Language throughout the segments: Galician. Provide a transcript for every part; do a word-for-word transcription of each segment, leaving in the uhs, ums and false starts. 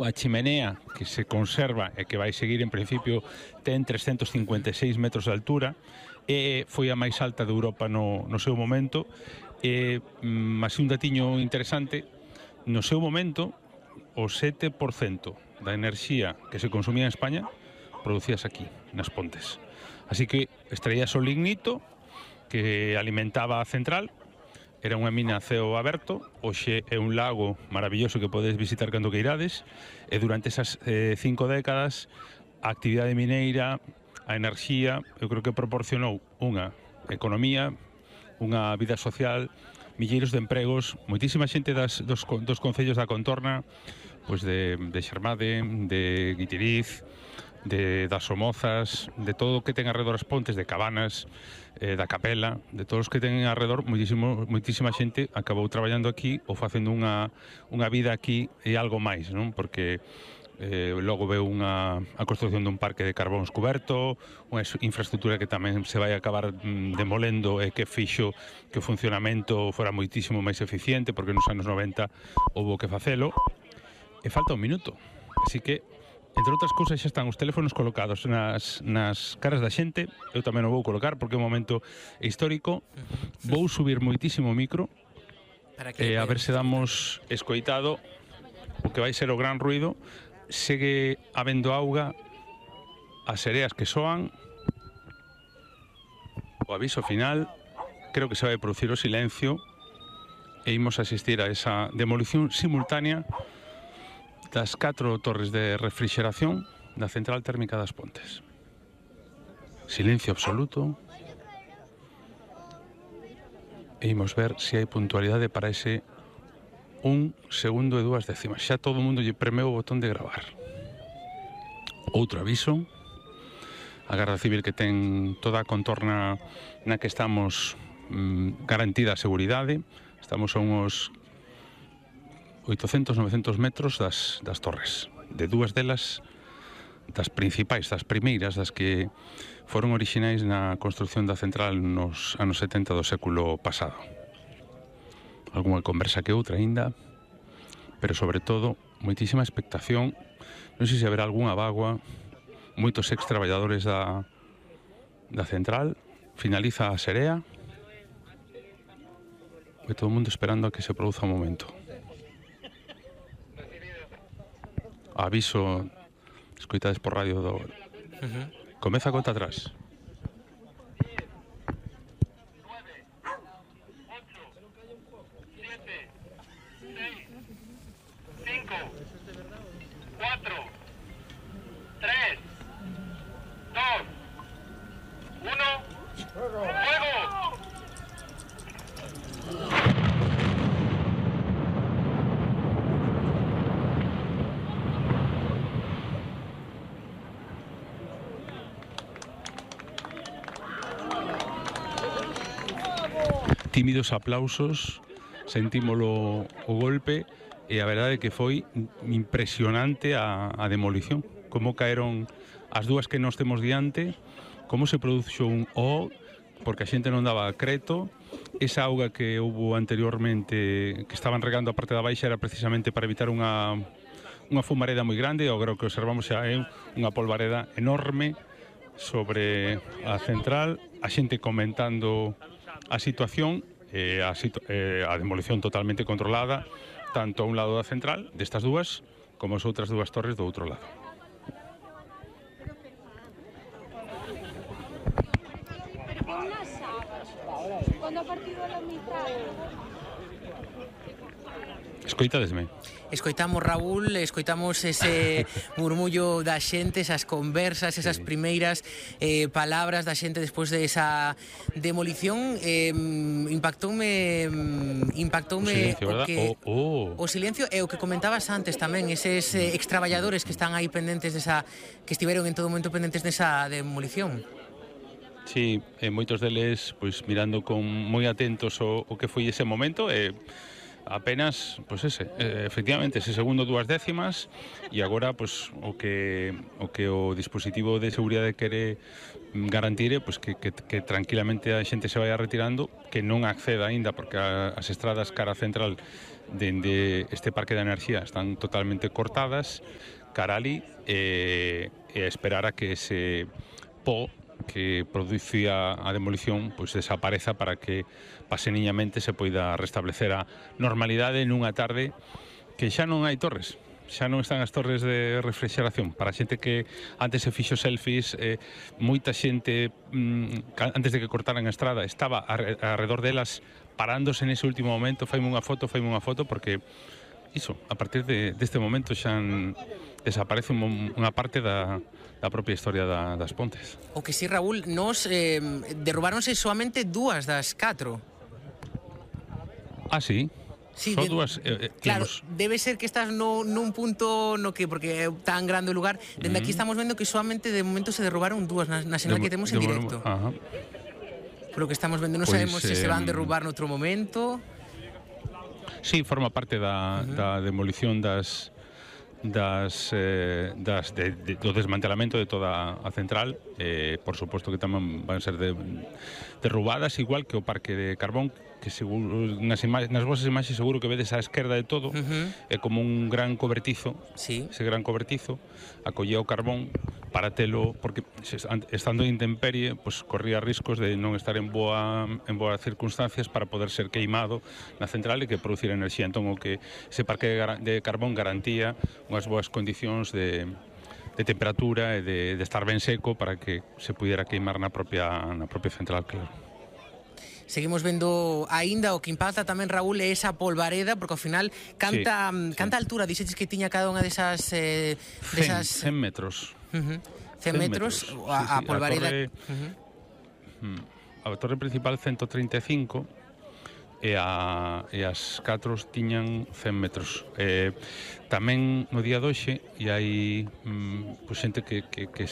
A chimenea que se conserva e que vai seguir en principio ten trescentos cincuenta e seis metros de altura e foi a máis alta de Europa no, no seu momento e, mm, así un datiño interesante, no seu momento o sete por cento da enerxía que se consumía en España producíase aquí, nas Pontes. Así que extraíase o lignito que alimentaba a central. Era unha mina a ceo aberto, hoxe é un lago maravilloso que podes visitar cando que irades, e durante esas eh, cinco décadas a actividade mineira, a enerxía, eu creo que proporcionou unha economía, unha vida social, milleiros de empregos, moitísima xente das, dos, dos concellos da contorna, pois de, de Xermade, de Guitiriz, de das Somozas, de todo o que ten alrededor as Pontes, de Cabanas, eh, da Capela, de todos os que ten alrededor, moitísimo, moitísima xente acabou traballando aquí ou facendo unha, unha vida aquí e algo máis, non? Porque eh, logo veu unha, a construcción dun parque de carbóns cuberto, unha infraestructura que tamén se vai acabar mm, demolendo e que fixo que o funcionamento fora moitísimo máis eficiente, porque nos anos noventa houbo que facelo, e falta un minuto, así que entre outras cousas xa están os teléfonos colocados nas, nas caras da xente. Eu tamén o vou colocar porque é un momento histórico. Vou subir moitísimo o micro e a ver se damos escoitado o que vai ser o gran ruido. Segue habendo auga, as sereas que soan, o aviso final. Creo que se vai producir o silencio e imos asistir a esa demolición simultánea das catro torres de refrigeración da central térmica das Pontes. Silencio absoluto. E imos ver se hai puntualidade para ese un segundo e dúas décimas. Xa todo o mundo lle premeu o botón de gravar. Outro aviso. A Garda Civil que ten toda a contorna na que estamos mm, garantida a seguridade. Estamos a uns oitocentos, novecentos metros das, das torres, de dúas delas das principais, das primeiras, das que foron orixinais na construcción da central nos anos setenta do século pasado. Alguna conversa que outra aínda, pero sobre todo moitísima expectación. Non sei se haberá algunha bagua, moitos ex traballadores da, da central. Finaliza a serea e todo o mundo esperando a que se produza o momento. Aviso, escoitades por radio do... Uh-huh. Comeza a conta atrás. Tímidos aplausos, sentímolo o golpe e a verdade é que foi impresionante a, a demolición. Como caeron as dúas que nós temos diante, como se produxo un O, porque a xente non daba creto. Esa auga que houve anteriormente, que estaban regando a parte da baixa, era precisamente para evitar unha, unha fumareda moi grande. O que observamos xa é unha polvareda enorme sobre a central, a xente comentando a situación, eh, a, situ eh, a demolición totalmente controlada, tanto a un lado da central, destas dúas, como as outras dúas torres do outro lado. Escoitadesme. Escoitamos, Raúl, escoitamos ese murmullo da xente, esas conversas, esas primeiras eh, palabras da xente despois de esa demolición. Eh, impactoume impactoume o silencio, o, que, oh, oh. o silencio e o que comentabas antes tamén, eses eh, extraballadores que están aí pendentes desa, que estiveron en todo momento pendentes desa demolición. Sí, eh, moitos deles pois mirando con moi atentos o, o que foi ese momento e apenas, pois ese, efectivamente, ese segundo dúas décimas, e agora, pois, o que o que o dispositivo de seguridade quere garantir é pois, que, que, que tranquilamente a xente se vaya retirando, que non acceda aínda, porque a, as estradas cara central dende este parque de enerxía están totalmente cortadas, cara ali, e, e esperar a que ese po que producía a demolición pois desapareza para que paseniñamente se poida restablecer a normalidade nunha tarde que xa non hai torres, xa non están as torres de refrigeración. Para a xente que antes se fixo selfies, eh, moita xente mm, antes de que cortaran a estrada estaba arredor delas parándose nese último momento, faime unha foto, faime unha foto, porque iso, a partir de, deste momento xa desaparece unha parte da da propia historia da, das Pontes. O que sí, Raúl, nos eh, derrubáronse soamente dúas das catro. Ah, sí? Sí, Son de, dúas, eh, claro, digamos... debe ser que estás no, nun punto no que, porque é tan grande o lugar, dende uh -huh. aquí estamos vendo que solamente de momento se derrubaron dúas na, na señal que temos en directo. Ajá. Por lo que estamos vendo, non Pois, sabemos se eh, se van derrubar noutro momento. Sí, forma parte da, uh -huh. da demolición das das, eh, das de, de, do desmantelamento de toda a central, eh, por suposto que tamén van ser de, derrubadas, igual que o parque de carbón, que seguro, nas, nas vosas imaxes seguro que vedes á esquerda de todo, uh -huh. é como un gran cobertizo, sí. ese gran cobertizo, acollía o carbón para telo, porque estando en intemperie, pues, corría riscos de non estar en boa en boas circunstancias para poder ser queimado na central e que producir enerxía. Entón, o que ese parque de carbón garantía unhas boas condicións de, de temperatura e de, de estar ben seco para que se pudiera queimar na propia, na propia central, claro. Seguimos vendo aínda o que impacta tamén, Raúl, é esa polvareda, porque ao final canta, sí, canta sí. altura, dixeches que tiña cada unha desas... Eh, desas... cen metros. Uh -huh. cen metros, metros. A, a sí, sí. polvareda... A torre, uh -huh. a torre principal ciento treinta e cinco e, a, e as catro tiñan cen metros. Eh, tamén no día doxe e hai mm, pues, xente que, que, que,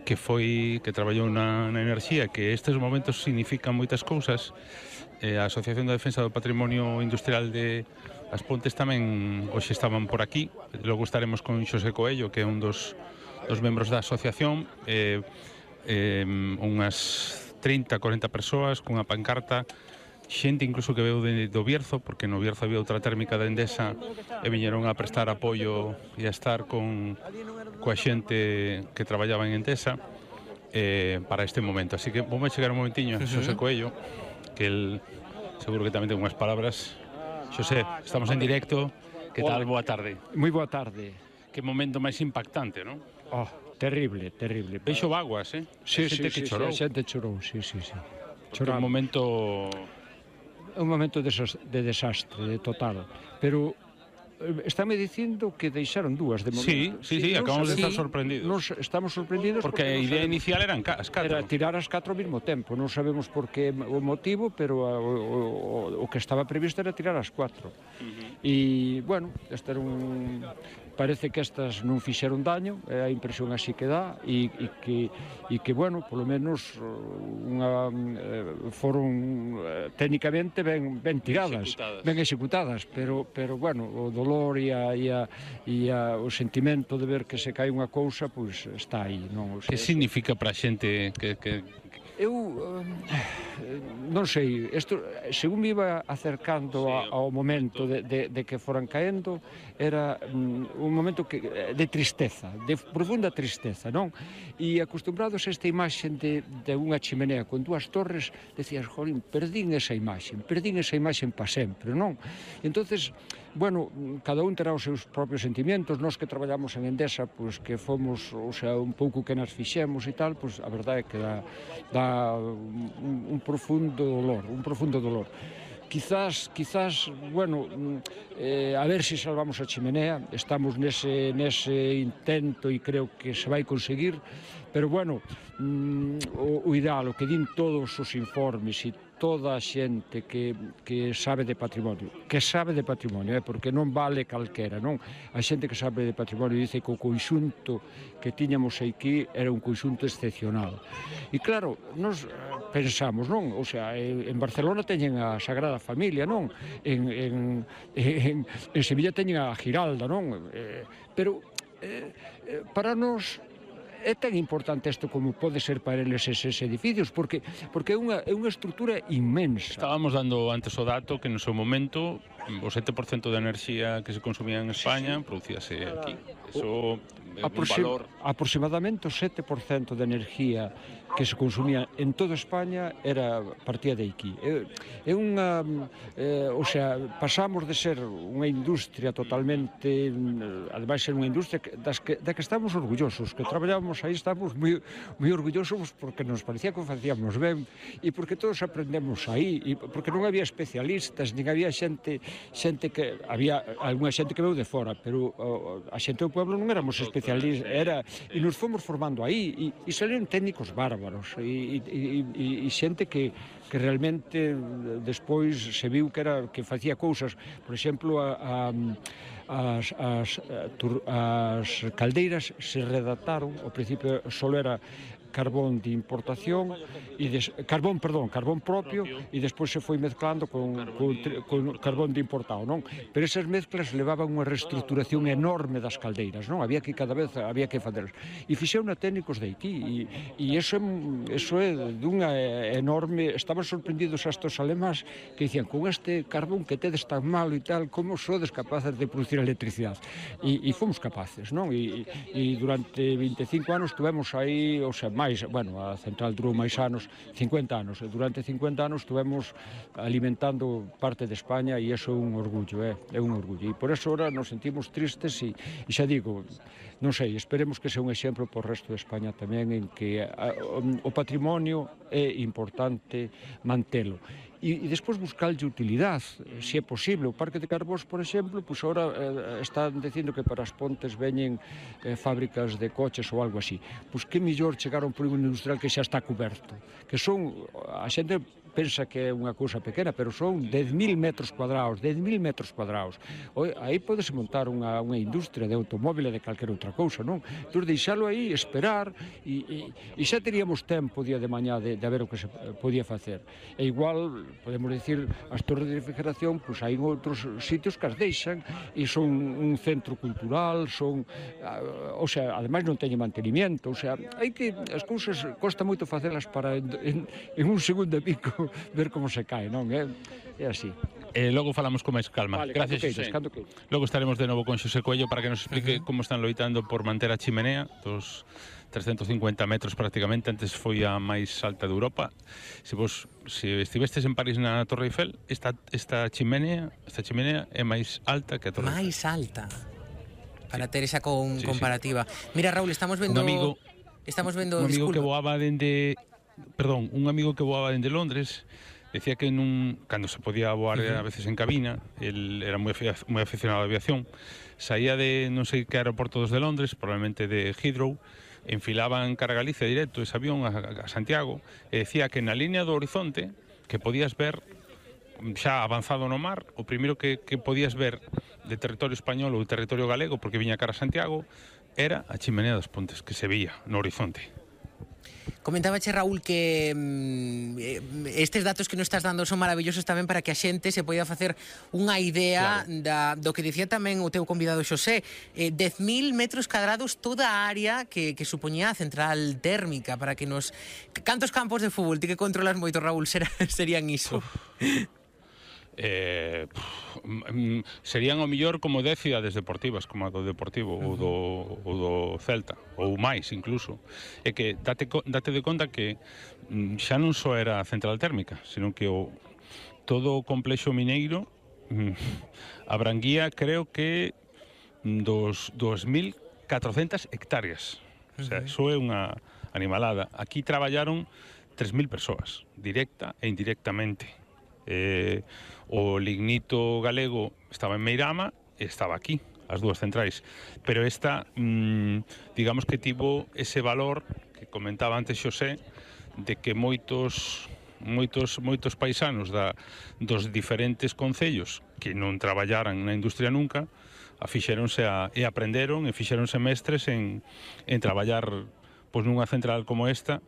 que foi que traballou na, na enerxía, que estes momentos significan moitas cousas. Eh, a Asociación de Defensa do Patrimonio Industrial de As Pontes tamén hoxe estaban por aquí. Logo estaremos con Xosé Coello, que é un dos, dos membros da asociación, eh, eh, unhas trinta, corenta persoas cunha pancarta, xente incluso que veu de, do Bierzo, porque no Bierzo había outra térmica da Endesa e viñeron a prestar apoio e a estar con coa xente que traballaba en Endesa eh, para este momento. Así que vamos a chegar un momentiño a Xosé Coello, que el seguro que tamén ten unhas palabras. Xosé, estamos en directo. Que tal? Boa tarde. Moi boa tarde. Que momento máis impactante, non? Oh, terrible, terrible. Veixo vaguas, eh? Sí, sí, que sí, chorou. sí, a xente chorou, sí, sí, sí. Chorou. Un momento... un momento de, de desastre, de total. Pero estáme dicindo que deixaron dúas de momento. Sí, sí, sí, sí, acabamos de estar sorprendidos. Nos estamos sorprendidos porque, porque a idea sabemos, inicial eran as catro. Era tirar as catro ao mesmo tempo. Non sabemos por que o motivo, pero a, o, o, o que estaba previsto era tirar as catro. Uh -huh. E, bueno, este era un... Parece que estas non fixeron daño, é a impresión así que dá, e, e, que, e que, bueno, polo menos unha, eh, foron eh, técnicamente ben, ben tiradas, executadas. ben executadas, pero, pero bueno, o dolor e, a, e, a, e a, o sentimento de ver que se cae unha cousa, pois está aí. Non? O sea, que significa para a xente que... que... Eu uh, non sei, isto, según me iba acercando sí, a, ao momento de, de, de que foran caendo, era um, un momento que, de tristeza, de profunda tristeza, non? E acostumbrados a esta imaxe de, de unha chimenea con dúas torres, decías, jolín, perdín esa imaxe, perdín esa imaxe para sempre, non? E entonces, bueno, cada un terá os seus propios sentimentos, nós que traballamos en Endesa, pois que fomos, o sea, un pouco que nas fixemos e tal, pois a verdade é que dá, dá un, un profundo dolor, un profundo dolor. Quizás, quizás, bueno, eh, a ver se si salvamos a chimenea, estamos nese, nese intento e creo que se vai conseguir, pero bueno, mm, o, o ideal, o que din todos os informes e toda a xente que, que sabe de patrimonio, que sabe de patrimonio, eh, porque non vale calquera, non? A xente que sabe de patrimonio dice que o conxunto que tiñamos aquí era un conxunto excepcional. E claro, nos pensamos, non? O sea, en Barcelona teñen a Sagrada Familia, non? En, en, en, en Sevilla teñen a Giralda, non? Eh, pero eh, para nós é tan importante isto como pode ser para eles eses edificios, porque porque é unha, é unha estrutura inmensa. Estábamos dando antes o dato que no seu momento o sete por cento da enerxía que se consumía en España producíase aquí. Eso é un valor. Aproximadamente o sete por cento da enerxía que se consumía en toda España era partía de aquí. É, é unha, eh, o sea, pasamos de ser unha industria totalmente, ademais ser unha industria das que, da que estamos orgullosos, que traballamos aí, estamos moi, moi orgullosos porque nos parecía que o facíamos ben e porque todos aprendemos aí e porque non había especialistas, nin había xente xente que, había algunha xente que veu de fora, pero a xente do pueblo non éramos especialistas, era, e nos fomos formando aí e, e salieron técnicos bárbaros e, e, e, e xente que, que realmente despois se viu que era que facía cousas, por exemplo, a, a As, as, as caldeiras se redactaron, ao principio só era carbón de importación e des, carbón, perdón, carbón propio e despois se foi mezclando con, con, con carbón de importado, non? Pero esas mezclas levaban unha reestructuración enorme das caldeiras, non? Había que cada vez había que facelas. E fixeron a técnicos de aquí e, e eso, eso é dunha enorme, estaban sorprendidos estos alemáns que dicían, con este carbón que tedes tan malo e tal, como sodes capaces de producir electricidade? E, e fomos capaces, non? E, e durante vinte e cinco anos tuvemos aí, o sea, máis, bueno, a central durou máis anos, cincuenta anos, e durante cincuenta anos estuvemos alimentando parte de España e iso é un orgullo, é, é un orgullo. E por eso ahora nos sentimos tristes e, e xa digo, non sei, esperemos que sea un exemplo por resto de España tamén en que a, o, o patrimonio é importante mantelo. E, e despois buscarlle utilidade, se é posible. O Parque de Carbós, por exemplo, pois agora eh, están dicindo que para as pontes veñen eh, fábricas de coches ou algo así. Pois que mellor chegar a un polígono industrial que xa está coberto, que son, a xente pensa que é unha cousa pequena, pero son dez mil metros cuadrados, dez mil metros cuadrados. Aí podese montar unha, unha industria de automóvil e de calquera outra cousa, non? Entón, deixalo aí, esperar, e, e, e xa teríamos tempo día de mañá de, de ver o que se podía facer. E igual, podemos dicir, as torres de refrigeración, pois hai outros sitios que as deixan, e son un centro cultural, son, o sea, ademais non teñen mantenimiento, o sea, hai que, as cousas, costa moito facelas para en, en, en un segundo e pico ver como se cae, non? É, é así. Eh, logo falamos con máis calma. Vale, gracias, queiras, Xosé. Logo estaremos de novo con Xosé Coello para que nos explique uh -huh. como están loitando por manter a chimenea dos trescentos cincuenta metros prácticamente, antes foi a máis alta de Europa. Se vos se estivestes en París na Torre Eiffel, esta esta chimenea, esta chimenea é máis alta que a Torre Eiffel. Máis alta. Para ter esa con, sí, comparativa. Sí. Mira, Raúl, estamos vendo un amigo, estamos vendo un amigo disculpa. que voaba dende Perdón, un amigo que voaba dende Londres decía que nun, cando se podía voar uh -huh. a veces en cabina, el era moi, moi aficionado á aviación, saía de non sei que aeroporto dos de Londres, probablemente de Heathrow, enfilaba en cara a Galicia directo ese avión a, a Santiago, e decía que na línea do horizonte que podías ver xa avanzado no mar, o primeiro que, que podías ver de territorio español ou de territorio galego, porque viña cara a Santiago, era a chimenea dos Pontes, que se veía no horizonte. Comentábache, Raúl, que mm, estes datos que nos estás dando son maravillosos tamén para que a xente se poida facer unha idea claro. da, do que dicía tamén o teu convidado Xosé. Eh, dez mil metros cadrados toda a área que, que supoñía a central térmica para que nos... Cantos campos de fútbol ti que controlas moito, Raúl, ser, serían iso? Eh, serían o mellor como dez cidades deportivas, como a do Deportivo uh -huh. ou, do, ou do Celta, ou máis incluso. É que date, date de conta que xa non só era a central térmica, sino que o, todo o complexo mineiro abranguía, creo que dos dos mil catrocentas hectáreas. O sea, iso é unha animalada. Aquí traballaron tres mil persoas, directa e indirectamente. Eh, o lignito galego estaba en Meirama e estaba aquí, as dúas centrais, pero esta mmm, digamos que tivo ese valor que comentaba antes Xosé, de que moitos moitos, moitos paisanos da, dos diferentes concellos que non traballaran na industria nunca, afixeronse a, e aprenderon e fixeronse mestres en, en traballar pois, nunha central como esta,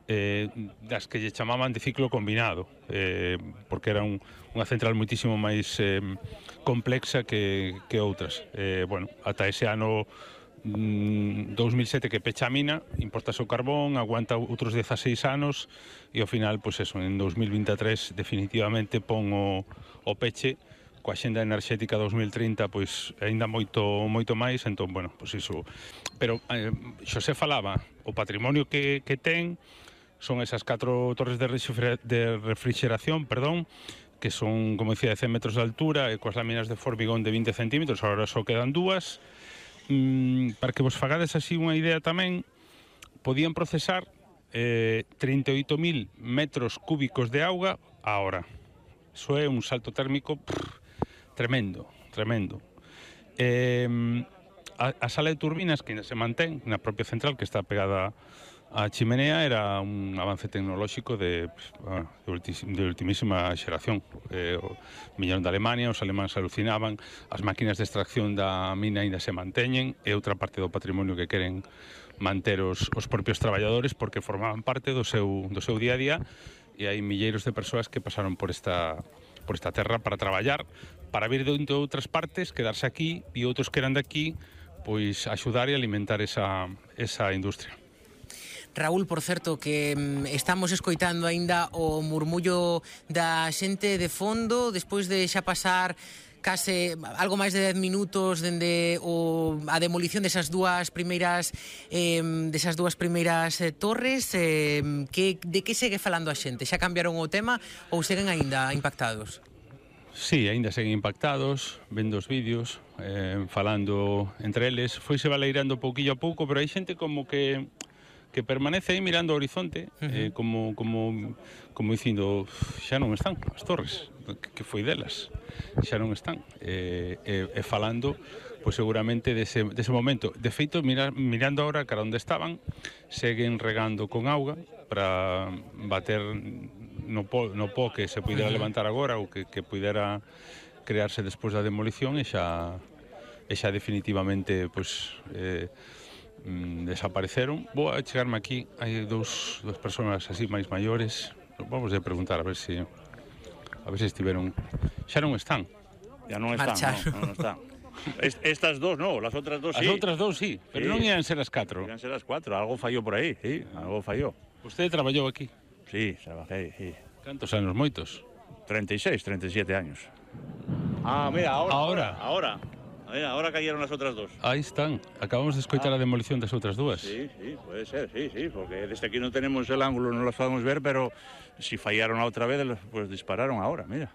eh, das que lle chamaban de ciclo combinado, eh, porque era un, unha central moitísimo máis eh, complexa que, que outras. Eh, bueno, ata ese ano dos mil sete que pecha a mina, importase o carbón, aguanta outros dezaseis anos e ao final, pois eso, en dos mil vinte e tres definitivamente pon o, o peche coa xenda enerxética dos mil trinta, pois aínda moito moito máis, entón, bueno, pois iso. Pero eh, Xosé falaba, o patrimonio que, que ten son esas catro torres de, de refrigeración, perdón, que son, como decía, de cen metros de altura e coas láminas de formigón de vinte centímetros, agora só quedan dúas. Mm, para que vos fagades así unha idea tamén, podían procesar eh, trinta e oito mil metros cúbicos de auga a hora. Iso é un salto térmico prr, tremendo, tremendo. Eh, a, a sala de turbinas que ainda se mantén na propia central, que está pegada a chimenea, era un avance tecnolóxico de, de, ultim, de ultimísima xeración. Eh, viñeron de Alemania, os alemáns alucinaban, as máquinas de extracción da mina ainda se manteñen, é outra parte do patrimonio que queren manter os, os propios traballadores porque formaban parte do seu, do seu día a día, e hai milleiros de persoas que pasaron por esta, por esta terra para traballar, para vir de outras partes, quedarse aquí, e outros que eran de aquí, pois axudar e alimentar esa, esa industria. Raúl, por certo, que mm, estamos escoitando aínda o murmullo da xente de fondo despois de xa pasar case algo máis de dez minutos dende o, a demolición desas dúas primeiras eh, desas dúas primeiras eh, torres. Eh, que, de que segue falando a xente? Xa cambiaron o tema ou seguen aínda impactados? Sí, aínda seguen impactados, vendo os vídeos, eh, falando entre eles. Foise baleirando pouquillo a pouco, pero hai xente como que que permanece aí mirando o horizonte, uh -huh. eh, como, como, como dicindo, xa non están as torres, que foi delas, xa non están, e, e, e falando, pois seguramente dese, dese momento. De feito, mirar, mirando agora cara onde estaban, seguen regando con auga para bater no po, no po que se pudera levantar agora ou que, que pudera crearse despois da demolición e xa, e xa definitivamente, pois, eh, desapareceron. Vou a chegarme aquí, hai dous, dous persoas así máis maiores, vamos a preguntar a ver se a ver se estiveron, xa non están, ya non están, no, non están. Estas dos no, las outras dos sí. As outras dos sí, pero sí. Non ian ser as catro. Ian ser as cuatro, algo fallou por aí, sí, algo fallou. Usted traballou aquí? Sí, trabajei, sí. Cantos anos, moitos? treinta y seis, treinta y siete años. Ah, mira, ahora, ahora, ahora. Mira, ahora cayeron las otras dos. Ahí están. Acabamos de escoitar ah. a demolición das outras dúas. Sí, sí, puede ser, sí, sí, porque desde aquí no tenemos el ángulo, no las podemos ver, pero si fallaron a outra vez, pues dispararon ahora, mira.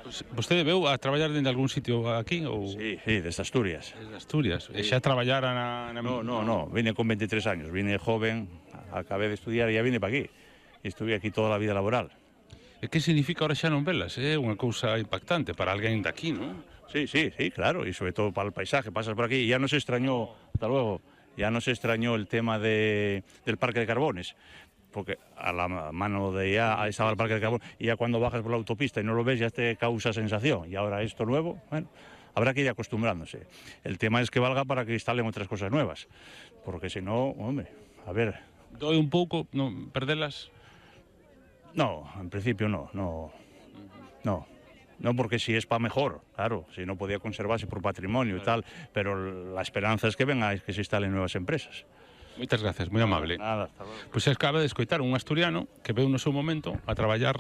Pues, vostede veu a traballar dende algún sitio aquí? Ou... Sí, sí, desde Asturias. Desde Asturias. Sí. E xa traballara na, na... No, no, no, vine con veintitrés años, vine joven, acabé de estudiar e ya vine para aquí. Estuve aquí toda a vida laboral. E que significa ahora xa non velas? É unha cousa impactante para alguén de aquí, non? Sí, sí, sí, claro, y sobre todo para el paisaje, pasas por aquí y ya no se extrañó, hasta luego, ya no se extrañó el tema de, del parque de carbones, porque a la mano de ya estaba el parque de carbón y ya cuando bajas por la autopista y no lo ves ya te causa sensación, y ahora esto nuevo, bueno, habrá que ir acostumbrándose. El tema es que valga para que instalen otras cosas nuevas, porque si no, hombre, a ver... ¿Doy un pouco, no, perdelas? No, en principio no, no, no. No, porque si es para mejor, claro, si no podía conservarse por patrimonio y tal, pero la esperanza es que venga, que se instalen nuevas empresas. Moitas gracias, moi amable. Nada, hasta luego. Pois pues acaba de escoitar un asturiano que veu no seu momento a traballar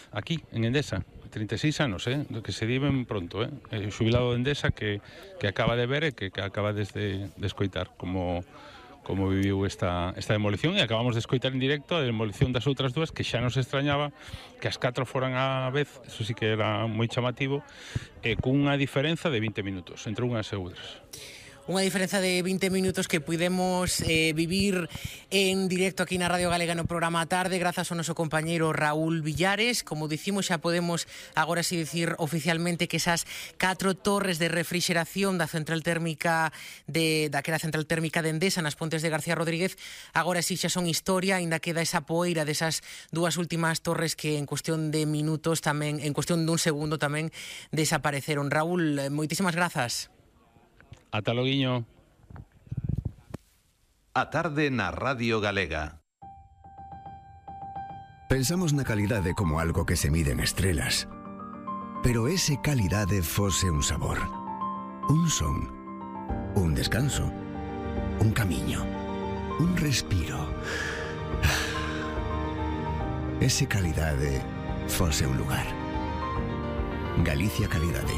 aquí, en Endesa, treinta e seis anos, eh, que se diven pronto, eh, eh xubilado de Endesa que, que acaba de ver e que, que acaba de, de escoitar como... como viviu esta, esta demolición, e acabamos de escoitar en directo a demolición das outras dúas, que xa nos extrañaba que as catro foran á vez, eso sí que era moi chamativo, e cunha diferenza de vinte minutos entre unhas e outras. Unha diferenza de vinte minutos que pudemos eh, vivir en directo aquí na Radio Galega no programa A Tarde grazas ao noso compañeiro Raúl Villares. Como dicimos, xa podemos agora si dicir oficialmente que esas catro torres de refrigeración da central térmica de daquela central térmica de Endesa nas Pontes de García Rodríguez agora si xa son historia, aínda queda esa poeira desas dúas últimas torres que en cuestión de minutos tamén, en cuestión dun segundo tamén desapareceron. Raúl, moitísimas grazas. Ata loguiño. A Tarde na Radio Galega. Pensamos na calidade como algo que se mide en estrelas. Pero ese calidade fose un sabor, un son, un descanso, un camiño, un respiro. Ese calidade fose un lugar. Galicia Calidade.